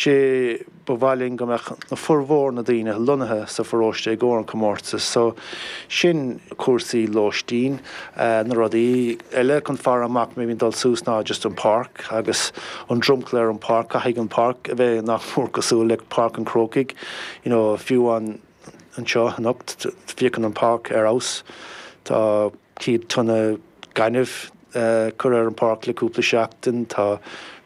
Sé ba mhaith linn go mbeadh na formhór na daoine lonnaithe sa pharóiste i gcomhair an comórtas so sin cúrsaí lóistín. Na rudaí eile chun faire amach maybe dul suas ná just an páirc agus an dromchla ar an páirc, caithfidh an páirc a bheith nach mór cosúil le Páirc an Chrócaigh, you know fiú an anseo anocht féachann an páirc ar fheabhas. Tá 100 tonna gainimh curtha ar an páirc le cúpla seachtain. Tá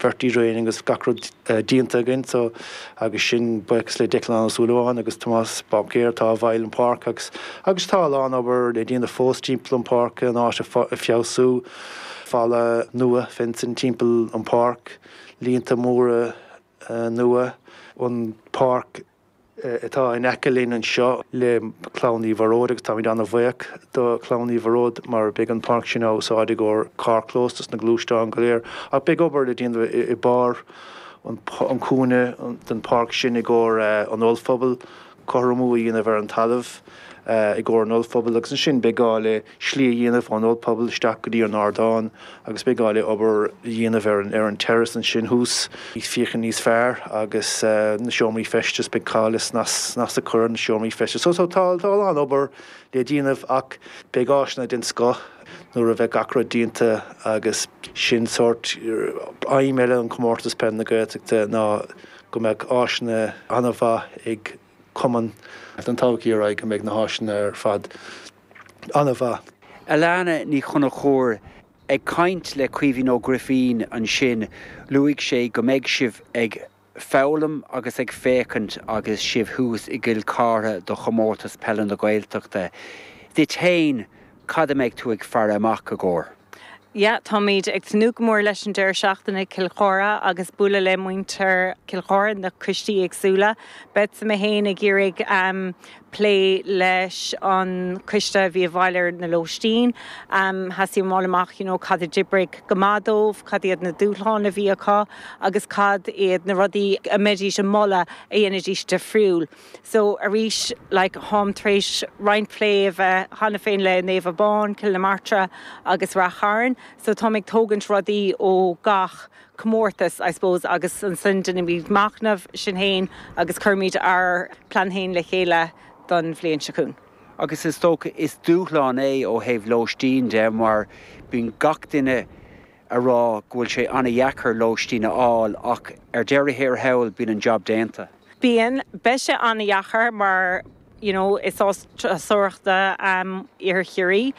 verti-draining agus gach rud déanta againn so agus sin buíochas le Declan Ó Súilleabháin agus Tomás Báicéir atá i bhfeighil an pháirc agus agus tá a lán obair le déanamh fós timpeall an páirc an áit a feabhsú, falla nua fencing timpeall an páirc, líonta móra nua, an páirc. atá in aice linn anseo le Clann Uí Mhórdha agus táimid an-bhuíoch do Chlann Uí Mhórdha mar beidh an pháirc sin á úsáid i gcomhair carrchlós dos na gluaisteáin go léir ach beidh obair le déanamh i barr an cúinne den pháirc sin i gcomhair an ollphuball, cothromú a dhéanamh ar an talamh i gcomhair an ollphubaill agus ansin beidh gá le slí a dhéanamh ón ollphuball isteach go dtí an ardán agus beidh gá le obair a dhéanamh ar an ar an terrace ansin thuas, féachaint níos fearr agus na seomraí feistis, beidh gá le snas snas a chur ar na seomraí feistis. So so tá tá a lán obair le déanamh ach beidh áiseanna den scoth nuair a bheidh gach rud déanta agus sin sórt aidhm eile an Comórtas Peile na Gaeltachta ná go mbeadh áiseanna an-mhaith ag cumann don todhchaí ar aghaidh go mbeidh na háiseanna ar fad an-mhaith. Alana Ní Chonchúir, Ag caint le Caoimhín Ó Grifín ansin, luaigh sé go mbeidh sibh ag foghlaim agus ag féachaint agus sibh thuas i gCill Chartha do Chomórtas Peile na Gaeltachta. Duit féin, cad a mbeidh tú ag faire amach i gcomhair? Yeah, táimid ag tnúth go mór leis an deireadh seachtaine i Cill Chartha agus bualadh le muintir Cill Chartha, na coistí éagsúla. Beadsa mé féin ag iarraidh plé leis an coiste a bhí i bhfeighil ar na lóistín. Theastaigh uaim fháil amach you know cad a d'oibrigh go maith dóibh, cad iad na dúshláin a bhí acu agus cad iad na rudaí a mbeidís ag moladh a dhéanfaidís difriúil. So arís like táim tar éis roinnt plé a bheith cheana féin le Naomh Abán, Cill na Martra agus Rath Chairn so táim ag tógaint rudaí ó gach comórtas I suppose agus ansin déanaimid machnamh sinn féin agus cuirimid ár plean féin le chéile don bhliain seo chugainn. Agus is dócha is dúshlán é ó thaobh lóistín de mar bíonn gach duine a rá go bhfuil sé an-dheacair lóistín a fháil ach ar deireadh thiar thall bíonn an jab déanta. Bíonn. Beidh sé an-dheacair mar you know is áit turasóireachta Iarthar Chiarraí.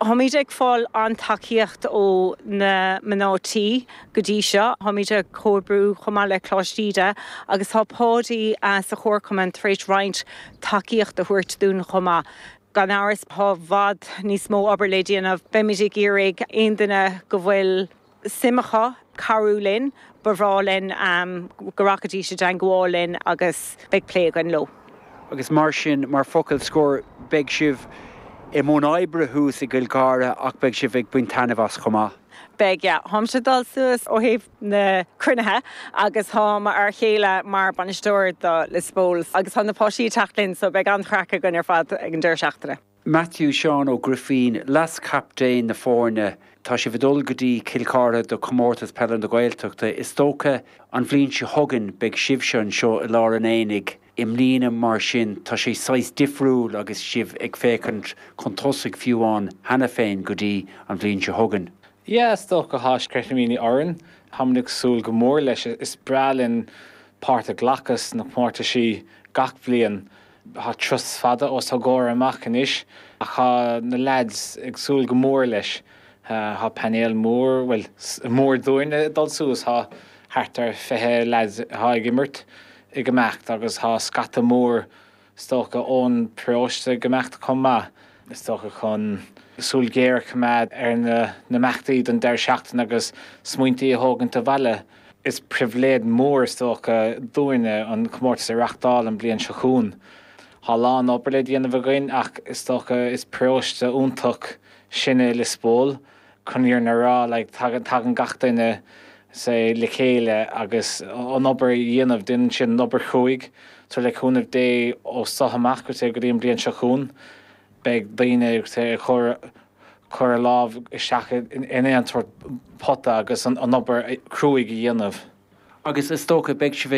Táimid ag fáil an-tacaíocht ó na mná tí go dtí seo. Táimid ag comhoibriú chomh maith le Coláiste Íde agus tá Páidí sa chomharchumann tar éis roinnt tacaíocht a thabhairt dúinn chomh maith. Gan amhras, tá i bhfad níos mó obair le déanamh. Beimid ag iarraidh aon duine go bhfuil suim acu cabhrú linn, ba bhreá linn go rachaidís i dteangmháil linn agus beidh plé againn leo. Agus mar sin, mar focal scoir, beidh sibh i mbun oibre thuas i gCill Chartha ach beidh sibh ag baint taitneamh as chomh maith. Beidh, yeah. Táimse ag dul suas ó thaobh na cruinnithe agus tá m'fhear chéile mar bainisteoir do Lios Póil agus tá na páistí ag teacht linn so beidh an-chraic againn ar fad ag an deireadh seachtaine. Matthew Seán Ó Grifín, Leas-Chaptaen na foirne, Tá sibh ag dul go dtí Cill Chartha do Chomórtas Peile na Gaeltachta. Is dócha an bhliain seo chugainn beidh sibhse anseo i lár an aonaigh. I mbliana mar sin tá sé saghas difriúil agus sibh ag féachaint chun tosaigh fiú amháin cheana féin go dtí an bhliain seo chugainn. Yeah, is dócha tá sceitimíní orainn. Táimid ag súil go mór leis. Is breá linn páirt a ghlacadh sna comórtaisí gach bliain. Tá turas fada os ár gcomhair amach anois ach tá na leaids ag súil go mór leis. Tá painéal mór, bhuel, mór dúinn ag dul suas. Tá thart ar 20 leaids atá ag imirt ag imeacht agus tá scata mór Is dócha ón bparóiste ag imeacht chomh maith, is dócha chun súil ghéar a choimeád ar na himeachtaí don deireadh seachtaine agus smaointí a thógaint abhaile. Is pribhléid mhór is dócha dúinne an comórtas a reachtáil an bliain seo chugainn. Tá a lán obair le déanamh againn ach is dócha is paróiste iontach sinne i Lios Póil. Chun an fhírinne a rá, like, tagann, tagann gach duine, say, le chéile agus an obair a dhéanamh, déanann siad an obair chruaidh. So le cúnamh Dé ó seo amach go dtí an bhliain seo chugainn, beidh daoine, say, ag cur, cur a lámh isteach in aon sórt pota agus an obair chruaidh a dhéanamh. Agus is dócha, beidh sibh ag.